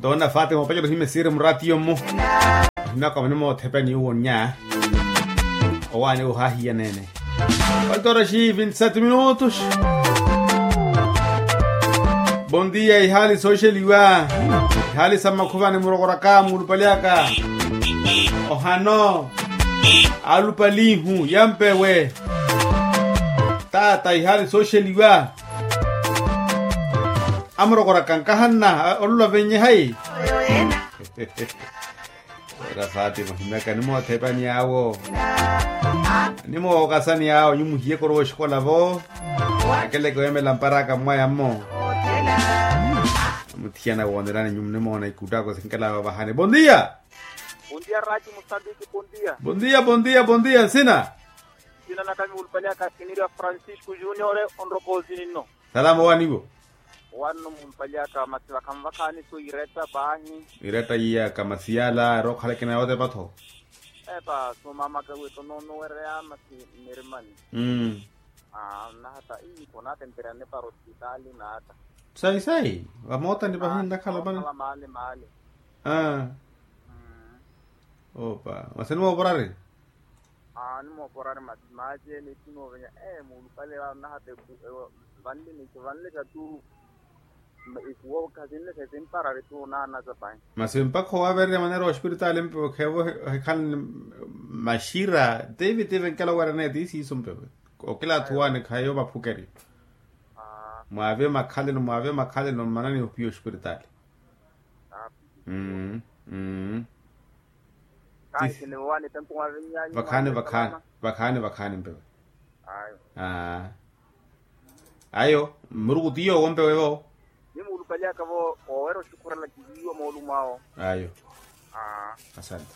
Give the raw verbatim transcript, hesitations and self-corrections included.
Toona fati moopacerya ohimya esiiri muraatiyo-mmo. Ohimmyaka mani moothepa ni uwo nnya. Owaani ohahiya neene. Falta horas e vinte e sete minutos. Bondia ihaali sooxeliwa. Ihaali sa mmakhuvani murokoraka muulupalyaka. Ohano. Alupalihu yampewe. Taata ihaali sooxeliwa. Amurokoraka nkahanna. Olula venye hayi. Era fatima ohimyaka nimoothepani awo. Nimookasani awo nyuwo muhiye korowa oxikola vo. Akeleke weemela mparaka mmwaya mmo. Muthiyana woonerani nyuwo nimoona ikuttako sinkela vavahani bondia. Bondia raki musambiki bondia. Bondia bondia bondia nsina. Nsina nakami wulupaliyaka kiniria francisco junior. Onroko nsini nno. Salama owaani iwo. Owaani nno mumpaliyaka masi vakhanvakhaani so iretta paahi. Iretta iya kamasiyala ero okhaleke na yotepa-tho. Epa so mamaka wetto noonowereya masi mmirimani. Aa nnahata ii konatemperya nipara osipitaali naata. Sayi sayi vamootani pahi nnakhala mana. Maale maale. Aa. Opa masi nimooporari. Aa nimooporari masi maaci ene itinovenya ee muulupale vano nahata eku vanle nico vanle xatu. Ikuwo khasinle xesimparari tu naana sa pahi. Masi mpakha owavererya maneera ospiritaali mpewe kheevo hekhalani maxira. Tivi tivi nkela owerene ti siiso mpewe. Okila athu waani khayo vaphukeri. Mwaave makhalelo mwaave makhalelo mmanani opiya ospiritaali. Mmm mmm. Vakhaani vakhaani vakhaani mpewe. Ayo mmuruku ti yoowo mpewe vo. Nimuulupaliyaka vo oweera oxukhurela kihiiwa moolumo awo. Ayo. Asante.